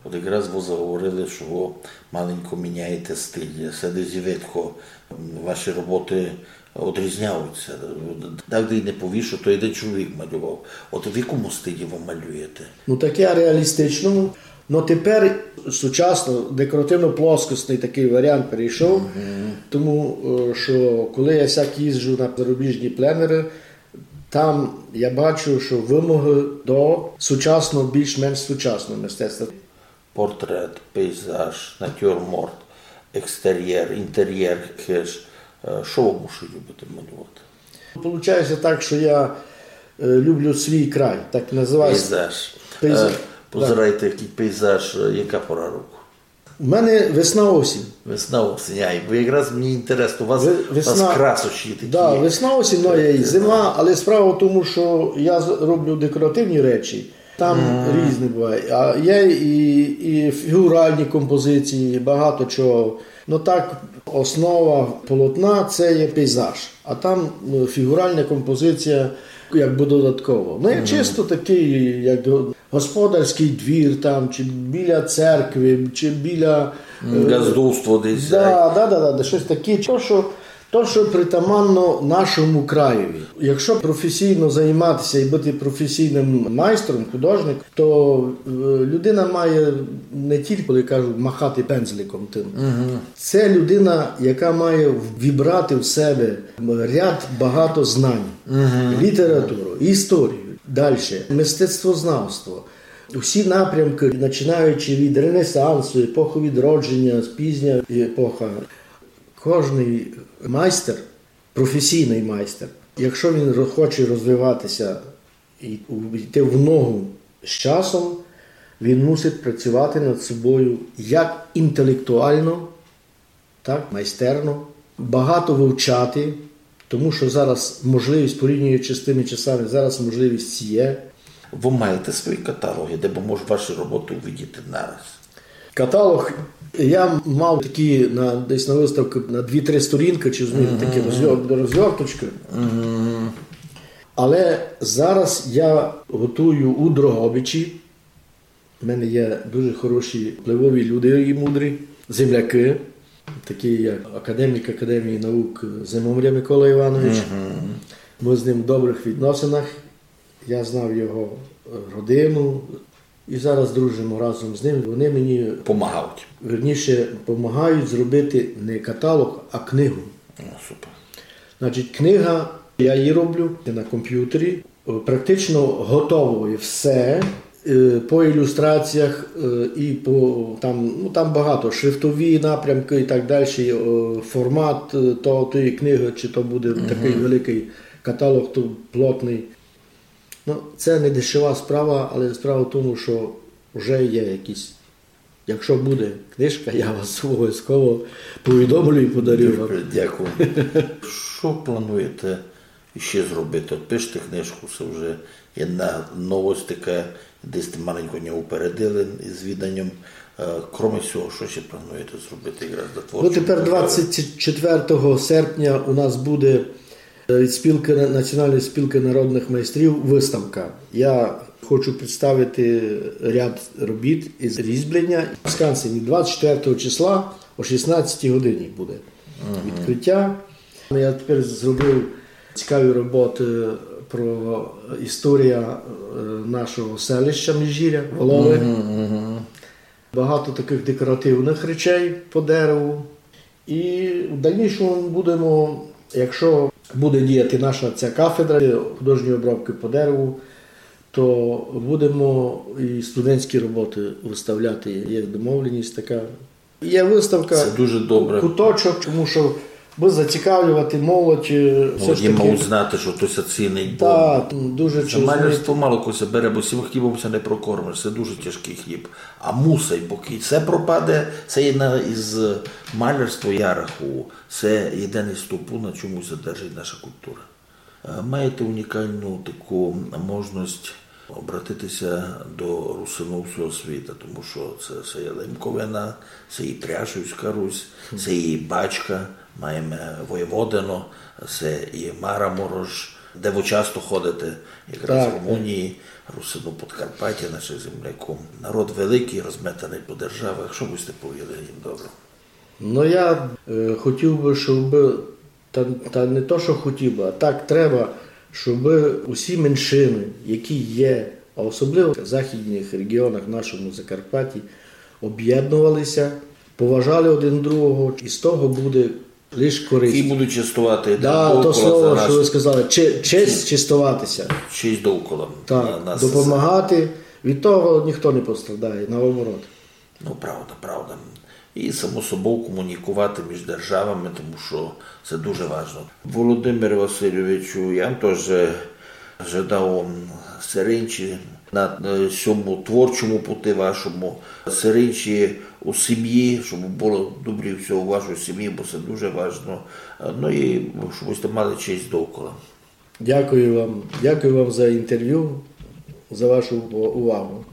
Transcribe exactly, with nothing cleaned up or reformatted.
От якраз вы заговорили, што вы маленько міняєте стиль. Се десь видко, м, ваші роботы одрізняються. Так де й не повіш, што то єден чоловік малював. От в якому стилі вы малюєте? Ну, таке реалістичному. Ну, тепер сучасно, декоративно-плоскостный такый варіант перейшов, тому, е, што коли я сяк їжджу на зарубіжні пленеры, там я бачу, што вымогы до сучасного, більш-менш сучасного мистецтва. Портрет, пейзаж, натюрморт, екстерєр, інтерєр хыж. Е, што вы бульше любите малювати? Получається так, што я, е, люблю свій край, так називається. Пейзаж. Пейзаж. Е, позирайте, якый пейзаж, е, яка пора року? У мене весна-осінь. Весна-осінь, ай, бо якраз мені інтересно, у вас, у вас красочі такі. Да, весна-осінь, ну, є і зима, але справа в тому, што я з-, роблю декоративні речі, там різне буває. А є і, і фігуральні композиції, багато чого. Ну так, основа полотна — це є пейзаж, а там, е, фігуральна композиція якби додатково. Ну, як чисто такый, як го-, господарськый двір там, чи біля церкви, чи біля, е, ґаздовство десь, да, да, да, да, да, штось таке. То, што, то, што притаманно нашому краєві. Якщо професійно займатися і бути професійным майстром, художником, то, е, людина має не тільки, коли кажуть, махати пензликом тым. Це людина, яка має вібрати в себе ряд багато знань. Літературу, історію, дальше, мистецтвознавство. Усі напрямки, починаючи від Ренесансу, епохи Відродження, пізня епоха. Кожный майстер, професійный майстер, якщо він ро-, хоче розвиватися і у-, йти в ногу з часом, він мусить працювати над собою як інтелектуально, так, майстерно, багато вивчати, тому што зараз можливість, порівнюючи з тыма часами, зараз можливість є. Вы маєте свої каталоги, де бы мож ваші роботы увидіти нараз? Каталог я мав такі на, десь на выставку на дві-три сторінкы, чи, розумієте, такі розгор-, розгорточкы. Але зараз я готую у Дрогобичі. У мене є дуже хороші впливові люди і мудрі земляки, такі як академік Академії наук Зимомря Микола Іванович. Мы з ним в добрых відносинах. Я знав його, е, родину і зараз дружимо разом з ним. Вони мені помагають. Верніше, помагають зробити не каталог, а книгу. О, супер. Значить, книга, я її роблю на комп'ютері, е, практично готово є все, е, по ілюстраціях, е, і по, там, ну, там багато, шрифтові напрямки і так далі, е, формат, е, то, тої книги, чи то буде такый великый каталог, то плотный. Ну, це не дешева справа, але справа в тому, што вже є якісь. Якщо буде книжка, я вас обовязково повідомлю і подарю вам. Дуже дякую. Што плануєте іщи зробити? От пишете книжку, се вже єдна новость така, десь сьте маленько ня упередили із віданням. Е, кроме сього, што іщи плануєте зробити якраз для творчого? Ну, тепер двадцять четвертого серпня у нас буде, е, від спілки, Національної спілки народних майстрів выставка. Я хочу представити ряд робіт із різьблення. В Скансені двадцять четвертого числа о шістнадцятій годині буде відкриття. Я тепер зробив цікаві роботы про історію, е, нашого селища Міжгіря, Волови. Багато такых декоративных речей по дереву. І в дальнішому будемо, якщо буде діяти наша ця кафедра художньої обробки по дереву, то будемо і студентські роботы выставляти. Є домовленість така. Є выставка. Се дуже добре. Ку-, куточок, тому што бы зацікавлювати молодь, е, все ж таки. Молоді мають знати, што то ся цінить, бо за малярство мало кого ся бере, бо сим хлібом ся не прокормиш, се дуже тяжкый хліб. А мусить, бо кідь се пропаде, се єдна із, малярство, я рахую, се єден із стовпу, на чому ся держить наша култура. Е, маєте унікалну таку можность обратити ся до русинув всього світа, тому што се, се є Лемковина, се і Пряшівська Русь, се і Бачка, маєме Войводино, се і Мараморош, де вы часто ходите, якраз в Румунії, Русину Подкарпаття, наших земляків. Народ великый, розметаный по державах. Што бы сьте повіли їм доброго? Ну, я е, хотів бы, щоб, та, та не то, що хотів бы, а так треба, щоб усі меншины, які є, а особливо в західних регіонах нашому Закарпатті, об'єднувалися, поважали один другого, і з того буде лиш користь. І будуть чествовати Да, то слово, що ви сказали, че- честь честоватися. Честь довкола. Так, допомагати. Від того ніхто не пострадає, наоборот. Ну, правда, правда. І само собою комунікувати між державами, тому що це дуже важливо. Володимир Васильовичу, я вам теж жадав вам серенчі на е, сьому творчому пути вашому, серенчі у сім'ї, щоб було добре все у вашій сім'ї, бо це дуже важливо. Е, Ну і щоб ви мали честь довкола. Дякую вам. Дякую вам за інтерв'ю, за вашу увагу.